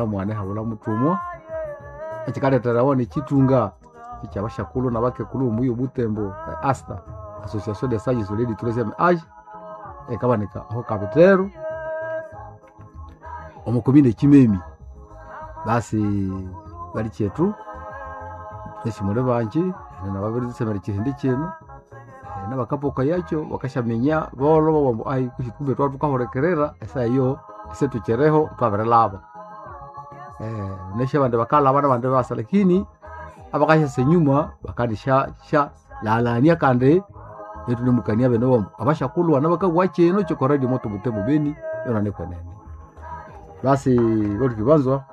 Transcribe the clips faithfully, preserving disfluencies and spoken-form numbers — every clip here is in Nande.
Mwana ihabulha muthumwa ekyikaletherawa nekyithunga ekyabasyakulhu nabakekulhu bomuyi obutembo asta Association des Sages du Troisième Age ekabanika aho Kabithero omo komine Kimemi. Basi balikyethu ghukasi muli bangi namabiritsemera ekyihindi kyino nabakapokayakyo bakasyaminya bolho babugha ambu ayi kwisi kumbe ithwabya thukahulikirira esaha eyo isithukyiriho thwabirilhaba. Wunasi abandi bakalhaba nabandi ibasa lakini abakasyasa enyuma bakandisya sya laghalhania kandi ithunemukania bene bambu abasyakulhu bano bakabugha kyino kyoko radio moto Butembo Beni yonani kwenene. Basi bathuki banzwa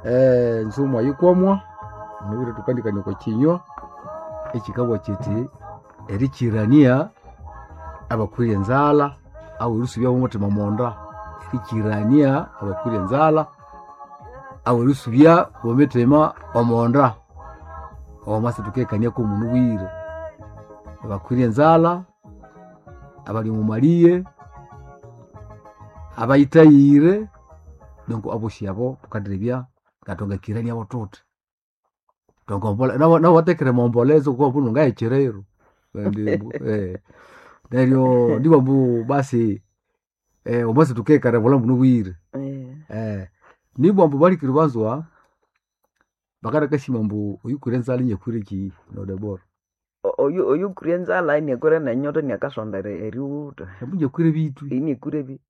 enzumwa yikwamwa munabwire thukandikania okwa kyinywa ekyikabugha kyithi erikyirania abakwire enzalha awu erisubya bomuthima monda, erikyirania abakwire enzalha awu erisubya bomuthima omonda. Omwasi thukekaniako munabwire abakwire enzalha, abali omo malighe, abayithayire donc abosi abo thukandirebya ngathwangakiraniabo thuthi. Nabo bathekere emombolezo ngoku ngayekyiriro neryo ndibugha ambu basi omwasi thukekania obulhambu munabwire. Nibugha ambu balikere banzwa bakanakasima ambu oyukwire enzalha iniakwire kyihi nodebora? Oyu oyukwire enzalha iniakwire nenyota iniakasonda erighutha. Ambu iniakwire ebithwi. Iniakwire ebi-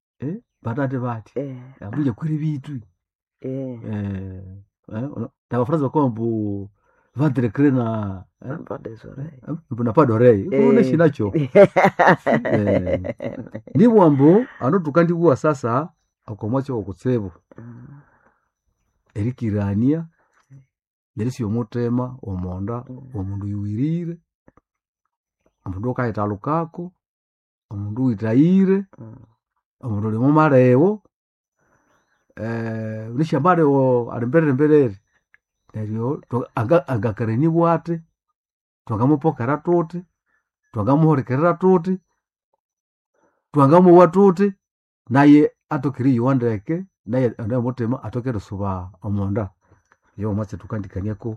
Batate bathi ambu iniakwire ebithwi. Nabafranza bakabugha ambu ventre creux na Pas des oreilles. ambu na pas d'oreille wunasi nakyo. Nibugha ambu hanu thukandibugha sasa okomwatsi owokutsibu erikirania nerisubya omuthima omonda womundu oyuwirire, omundu oyukayithalukako, omundu oyuwithayire, omundu oyuli omwa maligho wunasi amaligho ali mbiriri mbiriri neryo anga- angakiranibwa athi, thwangamupokera thuthi, thwangamuhulikirira thuthi, thwangamowa thuthi, naye athoke eriyowa ndeke naye omuthima athoke erisuba omonda. Oyo yomwatsi thukandikaniako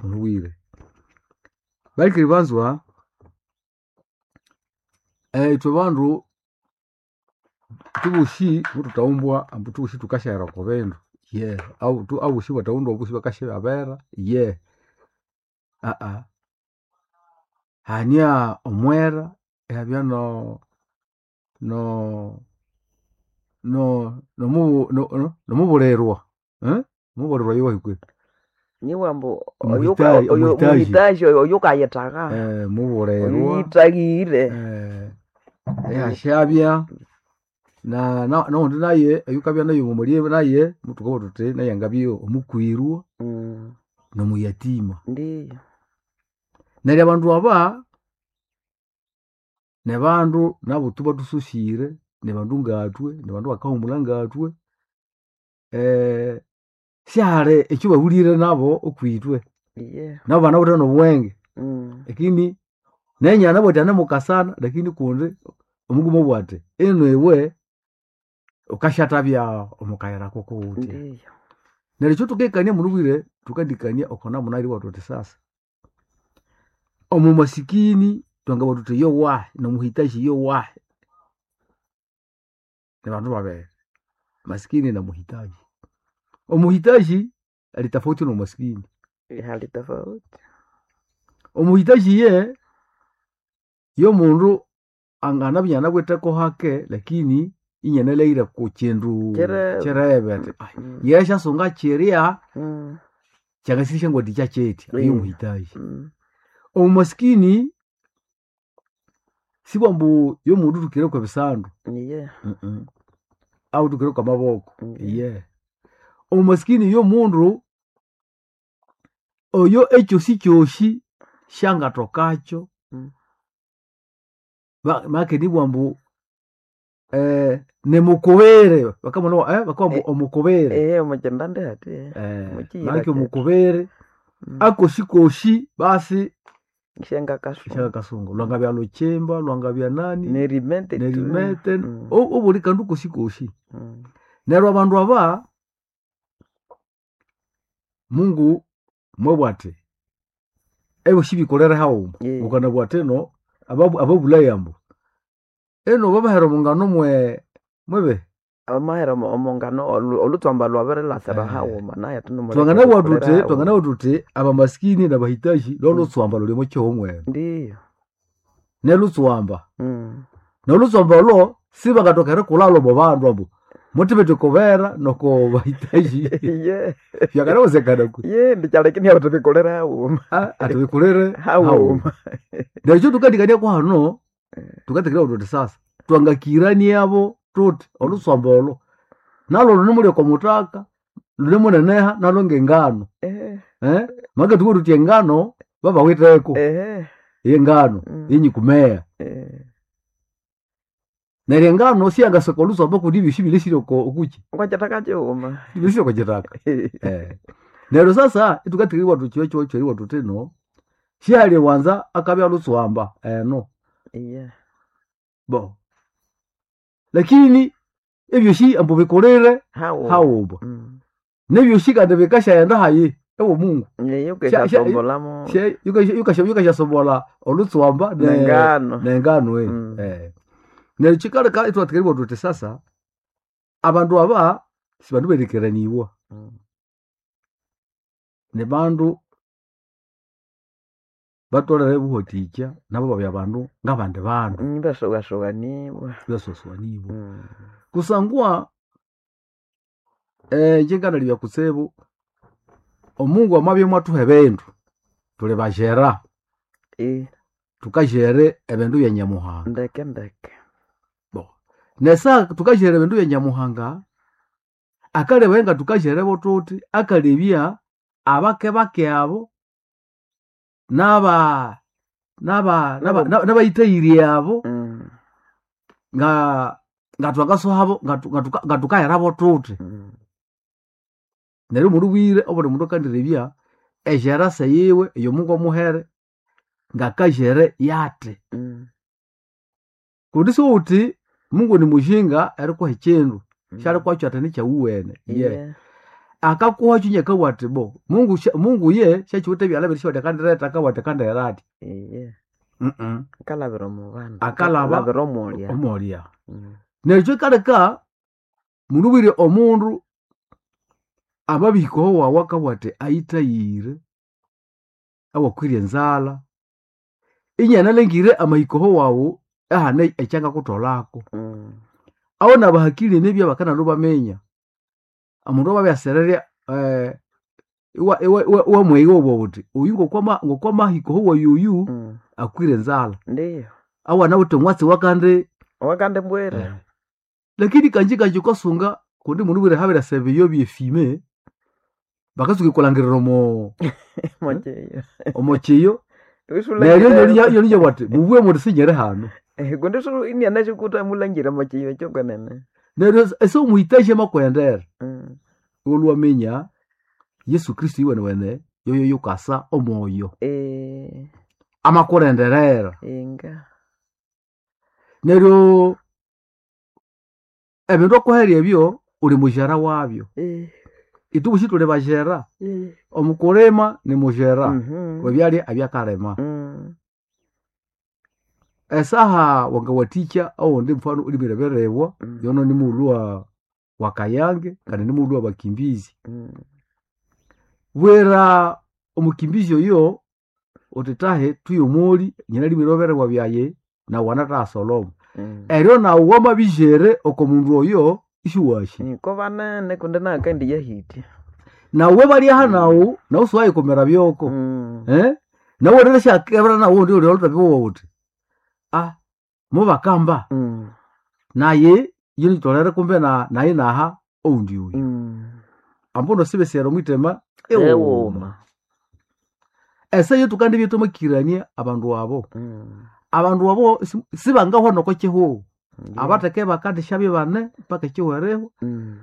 munabwire. Balikere banzwa ithwe bandu thubosi muthuthawumbwa ambu thubosi thukasyahera oko bindu ye abosi bathawundwa abosi bakasyabera ye hania omwera ihabya no- no- no- nomubulirwa omubulirwa yowahi kwehi? Nibugha ambu Omuhitaji omuhitaji oyukayithagha mubulirwa oyuyithahire. ihasyabya noghundi naye oyukabya naye omwa naye muthukabugha thuthi naye angabya omukwirwa nomuyatima. Ndiyo. Neryo abandu aba nibandu nabo thubathusosire, nibandu ngathwe, nibandu abakahumulha ngathwe sihali ekyabahulire nabo okwithwe. Iye. Nabo banawithe nobuwenge lakini nenye anabugha athi anemukasana lakini kundi omuguma abugha athi ino iwe wukasyathabya omukayira kukuwuthya. Ndiyo. Neryo ekyathukekania munabwire thukandikania oko namuna eribugha thuthi sasa omumasikini thwangabugha thuthi yowahi nomuhitaji yowahi nibandu babiri masikini na muhitaji. Omuhitaji ali tofauti nomumasikini. Hali tofauti. Omuhitaji iye yomundu anganabya inanawitheko hake lakini inyanalheghire okukyindu Kyirebe. kyirebe athi yesyasunga kyirya kyangasisya kyetya oyo muhitaji. Omumasikini sibugha ambu yomundu uthukire kwebisandu Iye. awu uthukire kwamaboko iye. Omumasikini yomundu oyo ekyosikyosi syangathokakyo make nibugha ambu nimukubiri bakabugha ambu omukubiri Ehe omukyindandi hathi. Mukyiyira make kyethu. omukubiri akosikosi basi Syangakasunga. syangakasunga lwangabya lhukyimba, lwangabya nani Nerimete tu. nerimete obuli kandu kosikosi. Neryo abandu aba Mungu mwebwate ebyo shibikolere hauma Yeah. ukanabwa ati eno ababu- ababulaya mbu eno babahera omungano mwe mwebe Amahera omo- omongano olu- olutswamba lwabirilasira Eh. haghuma naye ati nomuleke twanganabwa bikolere tuti haghuma. twanganabwa tuti abamaskini nabahitaji lolutswamba luli mukihumwe mwene Ndiyo. nelutswamba Mm. nolutswamba olwo sibangatoka erikulalo mu bandu ambu mutibete kubera noko bahitaji Ye. byakanawezekana ku Ye ndikyalekini abo tubikolere haghuma. Ah, atibikolere Haghuma. neryo tukandikania kwahano tukatekera tuti sasa twangakiraniabo tuti olutswamba olo nalo lunemuli okomutaka lunemuneneha nalo ngengano Eh. eh? make tuko tuti engano babawiteko Eh. yengano Mm. yenyikumea Eh. neryo engano siyangasoka olutswamba kundi ebyosi bilesire oko okuki Ngwakyataka kighuma. bilesire okukitaka eh. Neryo sasa itukatikiriwa tuchiwe chiwe tuti no shali wanza akabya lutswamba eno Ye. bo lakini ebyosi ambu bikolere Haghuma. haghuma Mm. nebyosi kandi bikashaghenda hayi ewo Mungu Ye Sha- sha- yukeshatombolamo She- yukasha- yukasha- yukashasobola olutswamba ne- nengano. nengano eh. Mm. Eh. Neryo kikaleka itwatikiriwa tuti sasa abandu aba sibandu berikeraniwa Mm. ni bandu batolere buhotikya nabo babya bandu ngabandi bandu Mm, Basogasoganibwa. basoswanibwa Mm. kusangwa eh njenganalibya kutsibu omungu amabya mwathuha ebindu tuli bajera Eh, tukajere ebindu bya nyamuhanga ndeke ndeke. bo nesa tukajere ebindu bya nyamuhanga akaleba nga tukajerebo tuti akalebya abake bake abo naba naba naba- Nabo- nabayitayiri abo Mm. nga nga twakasohabo nga tu- nga tuka- nga tukaherabo tuti Mm. neryo mundu bwire obuli mundu akandirebya ejerasa yiwe eyomungu amuhere ngakajere yate Mm. kundi siwuthi Mungu ni mujinga erikuha ekindu Mm. syalikuhakyo ati nikyawuwene ye Ye. akakuhakyo nyakawa ati bo Mungu sya- Mungu ye syakiwithe ebyalha biri syawuthi akandireta akawa ati akandihera ati Ye. Mm-mm. Akalabira omu bandu. Akalaba- Akalabira omulya. omolya Mm. neryo kyikaleka mundu bwire omundu amabihikaho wawu akabugha ati ayithayire awakwire enzalha inyanalengire amahikaho wawu ahane ekyangakutholako Mm. aho nabahakili nibya bakanalwa baminya omundu amabyasererya eh, iwa- iwa- iwa- iwamwegha obwa wuthi oyu ngokwama ngokwamahikaho wayi oyu Mm. akwire enzalha Ndiyo. awana wuthi omwatsi wakandi Wakande mbwere. lakini kanji kanji ukasunga kundi mundu bwire habirasa ebiyo byefime bakasuka ikulangirira omo Mocheyo. omo kiyo neryo yolinya bwati mubwe muti sinyere hano Eh, kundi sulu iniana chikuta mulangira mocheyo chokwenene. neryo ese omuhitaji amakwendera Mm. olwaminya Yesu Kristo iwene wene yoyo yukasa omwoyo Eh, amakurenderera inga. neryo ebindu okuherya ebyo uli mujera wabyo Eh. itubushi tuli bajera Eh. omukulima ni mujera Mhm. webyalya ebyakalima Mm. esaha wangawathikya owundi mfano ulimire birebwa Mm. yono ni mughulhu wa wa kayange kandi ni mughulhu wa bakimbizi Mm. bwera omukimbizi oyo uthi tahe tuyomoli nyina limire birebwa byaye nawu wanathasoloma Mm. eryo nawu wamabijere oko mundu oyo isiwashi Niko banene kundi nakandi yahiti. nawu balyaha nawu nawu siwayikumira byoko Mm. eh nawu rero syakebera nawu undi uli olutabiwowa uthi ah mubakamba Mm. naye yinitolere kumbe na naye naha oundi uyu Mm. ambuno sibesera omwitema ewuma Ewuma. ese yetu kandi byetumakirania abandu abo Mm. abandu abo si- sibangahwa noko kihuhu Ndiyo. abateke bakandishabye bane paka ekihuherewa Mm.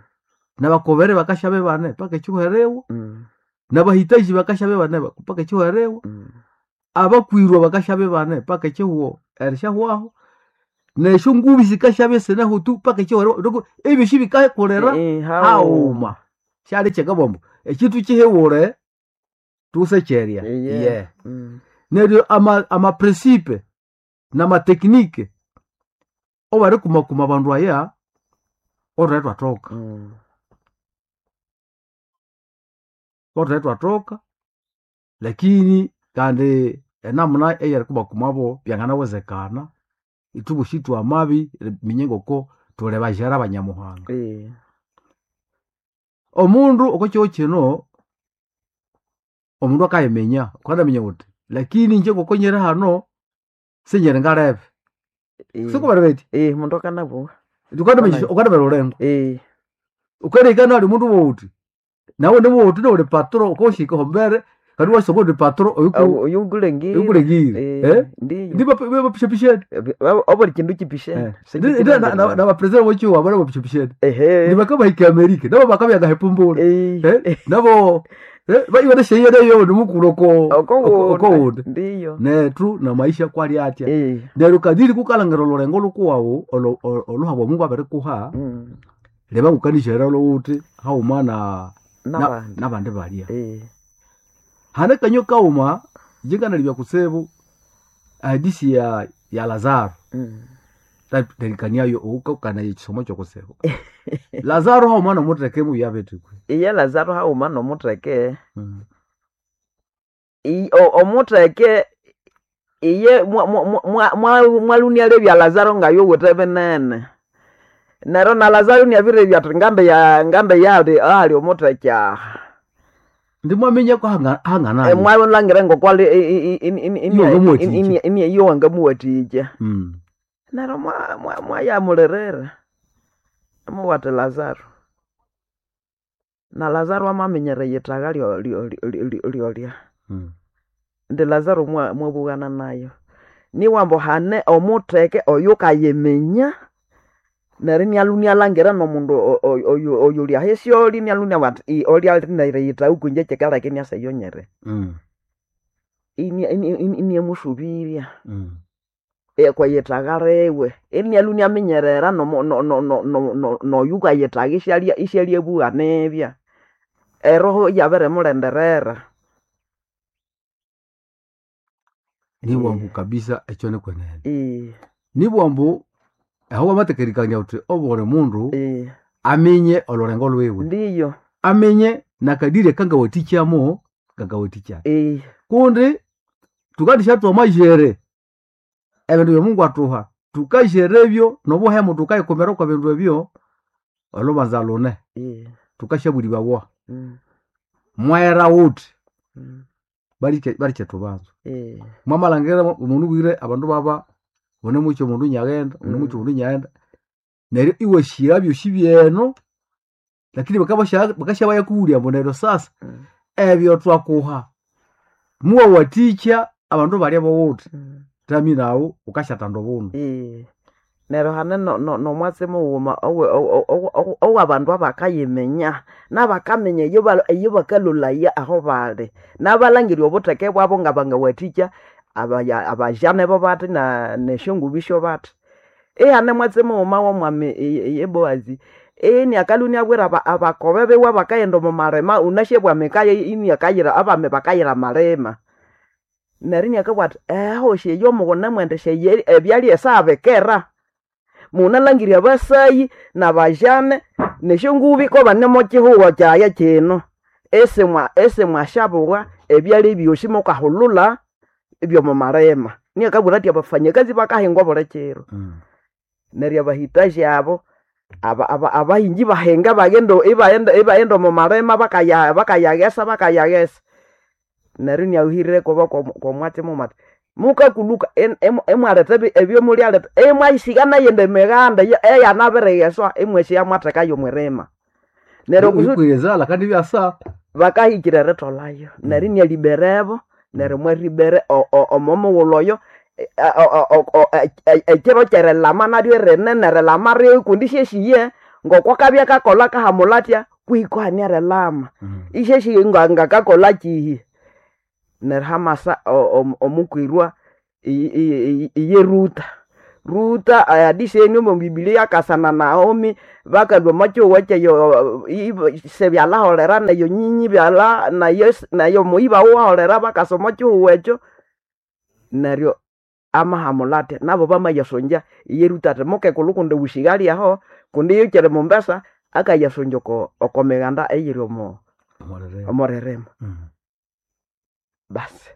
nabakobere bakashabye bane paka ekihuherewa Mm. nabahitaji bakashabye bane paka ekihuherewa Mm. abakwirwa bakashabye bane paka ekihuho erishahwaho nesyo ngubi sikashabye sineho tu paka ekihuherewa Ndoko ebyosi bikakolera Eh, haghuma Syali kyekabambu ekintu kihiwule tusekyerya. Iye. Ye. Mm. Neryo ama amaprincipe n'amateknike obarikumakuma abandu aya otwathe twathoka. Mm. Otwathe twathoka lakini kandi enamuna eyerikumakumabo byanganawezekana ithwe twamabi minye ngoko thuli bajera banyamuhanga. Eh. Omundu oko kihugho kino omundu akayiminya ukandaminya wuthi lakini ingye ngoko nyiri hano sinyiri ngalebe. Eh. Sikubali bethi Eh, mundu akanabugha. ukandaminya ukandamira olulengo. Eh. Ukareka nali mundu wowuthi nawe niwowuthi niwuli patro ukawushika hombere kandi iwasoma undi patro oyuku Oyukulengire. oyukulengire. Eh, Eh? ndiyo. Ndibapishapisheni. Obuli kindu kipishene. Nabapresident bokiwa bana bapishapisheni. Ehe. Nibakabahika Amerika nabo bakabyaga hepumbula. Eh. Eh? Nabo eh baiwana sheyo nimukulu oko Oko oko wundi. Ndiyo. Nethu na maisha kwali atya. Eh. Neryo kadiri kukalangira olulengo lukuwawu oluhabwa Mungu abirikuha Mm. leba ngukanishera lowuthi hauma na na- Nabandi. nabandi balya. Eh. Hane kanyo kauma jinganalibya kutsibu ahadisi ya ya Lazaro. Mm. Terikaniayo ukakana ekisomo kyokutsibu. Lazaro hauma nomutheke muya betikwe. Iye Lazaro hauma nomutheke. Mm. I- o- omutheke iye mwalunia lebya Lazaro ngayowithe binene. Neryo na Lazaro niabirebya athi ngambe ya ngambe yali ali omutheke aha. Ndimwaminya ko hanga hanganayo. Mwalhangira ngokwali Iye wangamuwathikya. iyo wangamuwathikya. Mm. Neryo mwayamulirira amuwatha Lazaro. Na Lazaro amaminyera eyithaka lyo- lyo- lyo- lyolya. Mm. Indi Lazaro mwa- mwabughana nayo. Niwambu hane omutheke oyukayiminya neryo inialhu inialhangira nomundu o- o- oyu- oyuli ahisyoli inialhu iniabugha athi "Ii, olya alinayira eyithagha kwinje kyikaleka iniasa eyonyere." Mm. Inia- ini- ini- iniamusubirya Mm. kweyithagha liwe. Inialhu iniaminyerera nomu- no- no- no- no- no- noyukayithagha isyalya isyalyabugha nibya. Eroho iyabirimulindirira. Nibwambu kabisa ekyo nikwenene. Eh, Nibwambu aho wamatekerikania wuthi obuli mundu eh, aminye olulengo lwiwe. ndiyo. Aminye nakadiri akangawathikyamo kangawathikya. Eh, Kundi tukandisyathwa amajere ebindu bya Mungu atuha tukajere ebyo nobuhemu tukayikumira kwa bindu ebyo olubanza lune eh, tukasyabulibawa mm, mwera wuthi mm, balikyetubanza eh, mwamalhangira omundu bwire abandu baba une mukyo omundu nyaghenda une mukyo Mm. omundu nyaghenda neryo iwashira byosi byeno lakini bakabasha bakasyabayakughulya ambu neryo sasa mm, ebyo twakuha muwawathikya abandu balya bowuthi mm. tami nawu ukasyathanda obundu. Eh, neryo hane no- no- nomwatsi mughuma owe- owe- owe- owe- owabandu abakayiminya nabakaminya eyo ba- eyo bakalolaya aho bali nabalhangirya obutheke bwabo ngabangawathikya abaya- abajane bo bathi na nesyongubi syobathi. Ihane mwatsi mughuma womwami iye Boazi iniakalhwa iniabwira aba- abakobe biwe abakaghenda omo malima wunasi bwa mikaya iniakayira abami bakayira amalima. Neryo iniakabugha athi ehosi eyo mughunamwendesya ebyalya esabikera munalhangirya abasayi nabajane nesyongubi kobane mokyihugho kyaghe kino. Isimwa isimwasyabugha ebyalya ebyosi mukahulhulha ebyomo malima. Iniakabwira athi abafanyakazi bakahingwa obuli kiro. Mm. Neryo abahitaji abo aba- aba- abahingi bahinga baghenda ibaghenda ibaghenda omo malima bakaya bakayaghesa bakayaghesa. Neryo iniahuhirire kuba kwomwatsi mughuma athi mukakulhuka imwaletha ebyomulyaleta imwayisigha neyindi mighanda eyanabirigheswa imwasiya mwathekayo omwirima. Neryo kusudi Oyikwire kandi ibyasa bakahikira eritholhayo neryo inialiberebo neryo mwaribere omo mughulhu oyo ekiro kyerilama naryo rinene erilama ryo kundi isyesiye ngokwakabya kakolha kahamulha athya kwihi kuhane erilama. Mm. Isyesiye nga- ngakakolha kyihi. Neryo hamasa omukwirwa iye Ruta. Ruta adisheni omo Biblia akasana Naomi bakalwa omo kyeyo sebyalaholera neyo nyinyi byala nayo nayo muyiba waholera bakasa omo kihugho ekyo neryo amahamula atya nabo bamayasongya iye Ruta ati mukekulhu kundi wushighali aho kundi iyo kyiri Mombasa akayasongya oko oko mighanda eyiri omo omo ririmo. Basi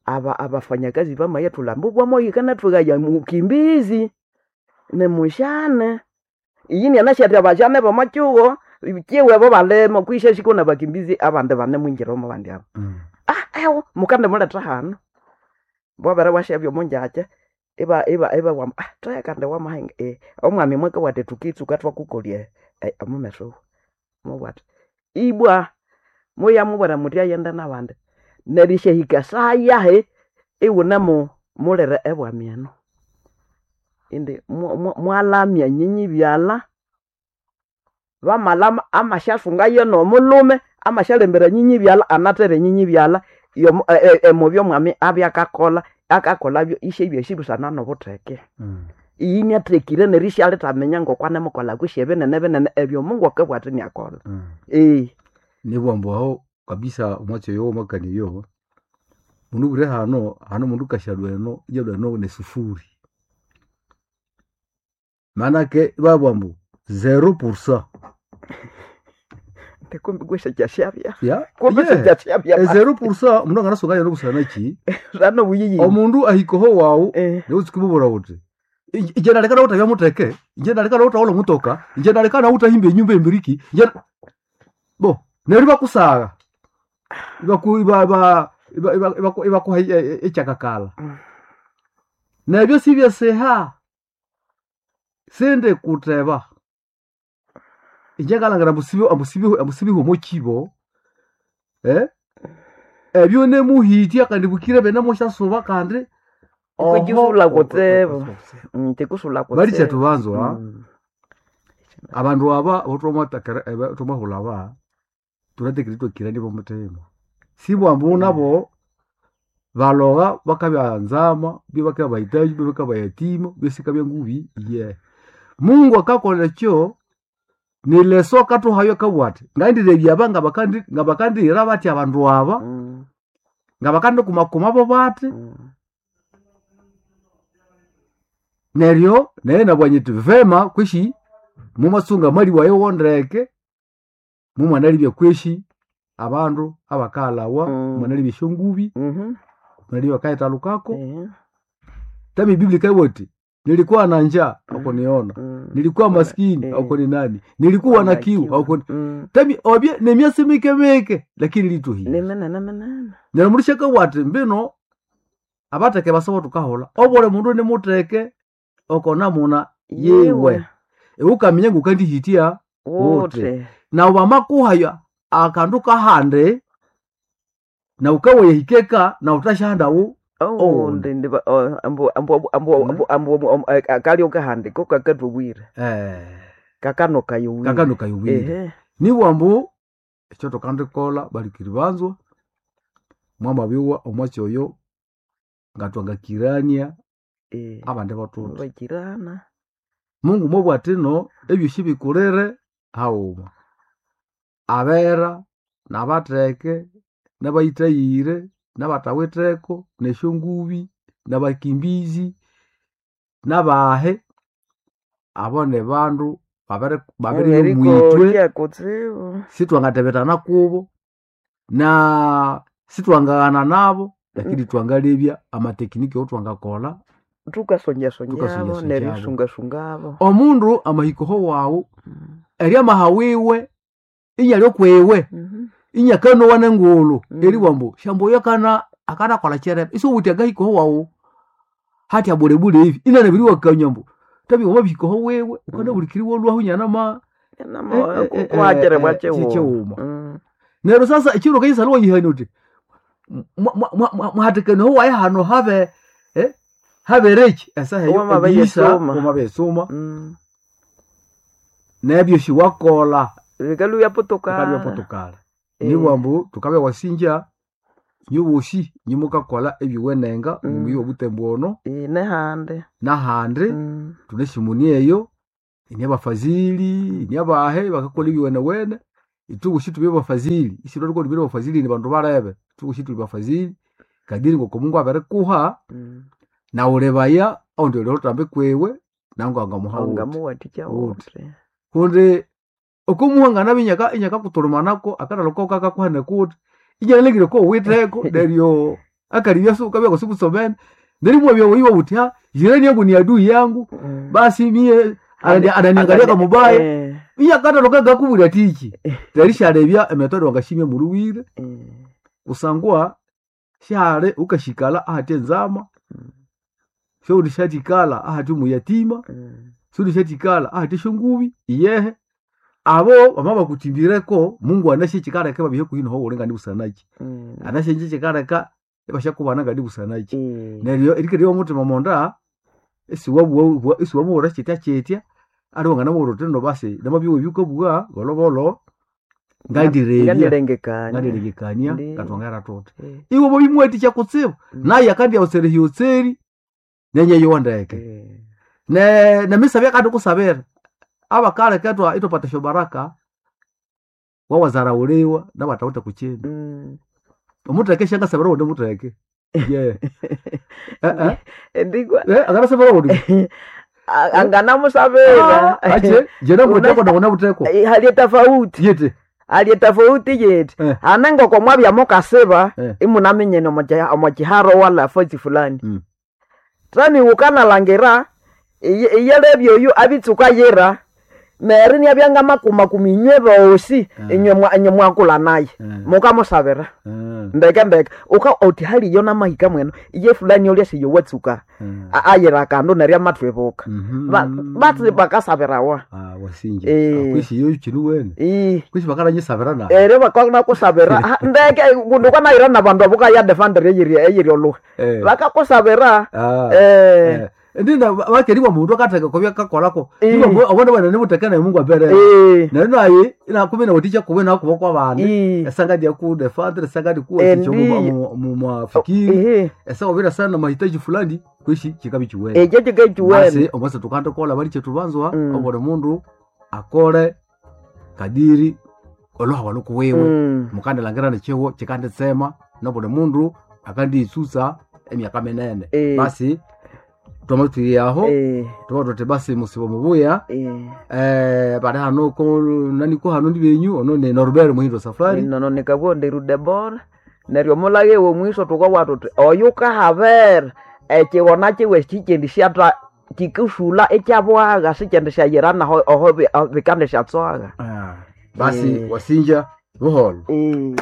aba abafanyakazi bamayathulha ambu bwamoyikanathwegaya mukimbizi nimushane iyi nyanasi athi abajane b'omo kihugho kiwe bo balimo kwisha shiko na bakimbizi abandi banemwingira omo bandi abo. Ah ewo mukandimuletha hano bwabere bwasyabya omo ngyakya iba iba ibabugha ah thegha kandi wamahinga eh omwami mwakabugha athi thukitsuka thwakukolya omumeso mubugha athi ibwa muyamubwira muthi aghende n'abandi neryo isyahika esaha yahi ighunemu mulire ebwami eno indi mwalamya nyinyi byalha bamalama amasyasungayo n'omulhume amasyalembera nyinyi byalha anathere nyinyi byalha emubya omwami abya akakolha akakolhabyo isyabya busana n'obutheke. Iyi inyathekire neryo isyalithaminya ngoko anemukolha kwisi ebinene binene ebyo Mungu akabugha athi niakolha. Ee. Nibugha ambu aho kabisa omwatsi oyo wamakania oyo mundu obwire hano hano omundu kasyalhwa eno iyalhwa eno nesufuri manake ibabugha ambu zero pour cent. Kumbi kwesyakyashabya Ya kumbi yeah. syakyashabya Ezero pour cent omundu anganasunga yeno busana ki busana obuyiyini omundu ahika oho wawu Eh. niwutsuka imubwira wuthi inje naleka nawuthabya mutheke inje naleka nawuthawulha omutoka inje naleka nawuthahimba enyumba embiriki inje bo neryo ibakusagha ibaku iba iba iba iba ibaku- ibakuha ekyakakala Mm. nebyo sibyesiha sindi kutheba inje ngalhangira ambu sibi- ambu sibi- ambu sibiha omo kibo eh ebyo nemuhitya kandi bukire benemusyasuba kandi oho Ikukisulha kutsibu. Mm, Tikusulha kutsibu. balikyethu banzwa Mm. abandu aba bothwamatakera thwamahulha aba thunatekire ithwakirania bomuthima sibwambu nabo balogha bakabya nzama byo bakabya bahitaji byo bakabya yatima byo sikabya ngubi ye Mungu akakolha ekyo nileso akathuhayo akabugha athi ngandilebya aba ngabakandi ngabakandihira bathi abandu aba Mm, ngabakandikumakuma bathi mm. neryo naye nabugha nyithi vema kwishi mumasunga mali wayo wondeke mumwanalibya kwishi abandu abakalhawa Mm. mwanalibya esyongubi Mhm. mwanalibya bakayithalukako Eh, tami Biblia ikabugha iti nilikuwa na njaa haukuniona mm. nilikuwa maskini Eh. haukuni nani nilikuwa na kiu haukuni Mm. tami obye nemyasi mikemike lakini lituhire Ni minene minene. neryo mundu syakabugha athi mbino abatheke basobo thukahulha obuli mundu nimutheke oko namuna yiwe iwe ukaminya ngukandihitya Wote. Wote. nawu bamakuhaya akandu kahandi nawu kawayahikeka nawu thasyahandawu Oh, ndi ndi ba- oh, ambu ambu ambu Mm. ambu ambu ambu kalyo kahandiko kakatubwire. eh, Kakano kayowire. kakano kayowire Ehe. nibugha ambu ekyo thukandikolha balikiri banzwa mwamabyowa omwatsi oyo ngatwangakirania Eh. abandi bathuthi Bakirana. Mungu mwabugha athi no ebyosi bikulire haghuma abera nabatheke nabayithayire nabathawitheko nesyongubi nabakimbizi nabahe abo nibandu babiri babiri mwithwe Erikokia kutsibu. sithwangathebethana kubo na sithwangaghana nabo lakini twangalebya amatekiniki awethwangakolha Tukasonjasonjabo Tukasonjasonjabo. neryosungasungabo. omundu amahikoho wawu Mm. eryamaha wiwe inyalya okwiwe Mhm. inyakanowa nengulhu Mm. eriwa ambu shambu oyo akana akanakolha kyerebe isiwuthi akahikoho wawu hathya bulebule ivi inanabiriwakanywa ambu tabi wamabihikoho wiwe ukanabulikiri wolwahu inyanama Nama Eh, eh, eh, kwakire eh, bwachiwo. kyekiwuma. Mm. neryo sasa ekiro kayisala wayihania uthi mwahatikene wayi hano habe eh, habereki esaha eyo Wamabeyesuma. ebiisa wamabeyesuma Mm. nebyosi wakola Bikalu byapotoka. bikabya potokala Eh. nibugha ambu thukabya wasinja Nyuboshi nyimukakola ebyuwenenga Mm. mumuyi obutembo ono Eh, nehandi nahandi Mm. tune shimuni eyo ini abafazili ini abahe bakakola ebyuwenewene itubushi tubye bafazili isitwariko tubire bafazili ni bandu barebe itubushi tuli bafazili kadiri ngoko Mungu abirikuha Mm. na ulebaya aundi oliotambe kwewe nangu angamuha wuthi ongamuwathikya Wuthi. wuthi kundi okumuhangana binyaka inyaka kutulumanako akatalo kakakuhana kuti inyanalengire ko witheko neryo akalibya su kabya kusikusomene nerimwabya wiwa uti ha jirani yangu ni adui yangu Mm. basi mie anani- ananiangalia kama mubaya Eh, inyakatalo kagakubwira tichi terishalebya emetode wangashimya muluwire eh, kusangwa shale ukashikala ahati enzama shoundi shatikala ahati muyatima mm. shoundi shatikala ahati shongubi iyehe abo bama bakutimbireko Mungu anashe chikaleka babihe kuhino ho ulenga ndi busanachi Mm. anashe nje chikaleka ebashakubana ngadi busanachi Eh, neryo erikere omutima monda esiwabuwa esiwamuwura chitya chitya ali wangana tendo basi namabyiwe byukabugha bolobolo ngandirebya ngandirengekania ngandiregekania Ndi- ngatwangera tuti Eh, iwe bobimwetikya kutsibu mm. naye akandi awutsere hyotseri nenye yowandeke Eh, ne nemisabya kandi kusabira abakale ketwa itopata baraka wawazarauliwa nabatawuta kuchimba mm. omuteke shangasabira wundi muteke ye eh eh Ndigwa eh angasabira wundi A- anganamusabira ache jena muteko na unabuteko Eh, hali tofauti yete hali tofauti yeti Eh. hanengoko mwabya mukasiba Eh. imunamenyene omo chiharo wala fozi fulani Mm. tani ukanalangira iye- iyelebya oyu abitsuka yira meri niabyanga makumakuma inywe bosi Eh. inywe mwa- inywe mwakula naye Eh. mukamusabira eh ndeke ndeke uka oti haliyo namahika mweno iye fulani olya siyo watsuka eh A- ayira kandu neryo amatwibuka mhm Ba- batsi bakasabirawa ah wasinje Eh. akwishi yo chinu wene ii kwishi bakaranyisabira na ere bakakusabira Ah, ndeke kundu kwanayira nabandu abo kaya defender eyiri eyiri oluha eh bakakusabira ah eh Eh, ndina bakeriwa mundu akateka kobya kakolako Eh. iwo abona bana nimuteka naye Mungu abere eh naye naye ina kumi na uticha kuwe na kuba kwa bandi ii esanga dia ku defendre esanga di kuwa Eh, ticho ndiyo. mu mu mafikiri ehe esanga obira sana mahitaji fulani kwishi chikabi chiwene ekyo kikechiwene basi omwase tukande kola bali chetu banzwa Mm. obone mundu akole kadiri oloha walukuwewe Mm. mukandilangira nechiwo chikanditsema nobuli mundu akandiyitsutsa emyaka minene Eh. basi twamatwire aho Eh, tuba tuti basi musibo mubuya eh. eh, bali hano ko naniko hano ndi benyu ono ne Norbert Muhindo Safari nono nikabwo ndirudebora neryo omulage womwiso tukawa tuti oyu kahabera ekighona kiwe kikendi syatha kikusula ekyabwagha sikyendi syayira naho oho bi- bikandi syatswaga ah, basi Eh. wasinja buholo Eh.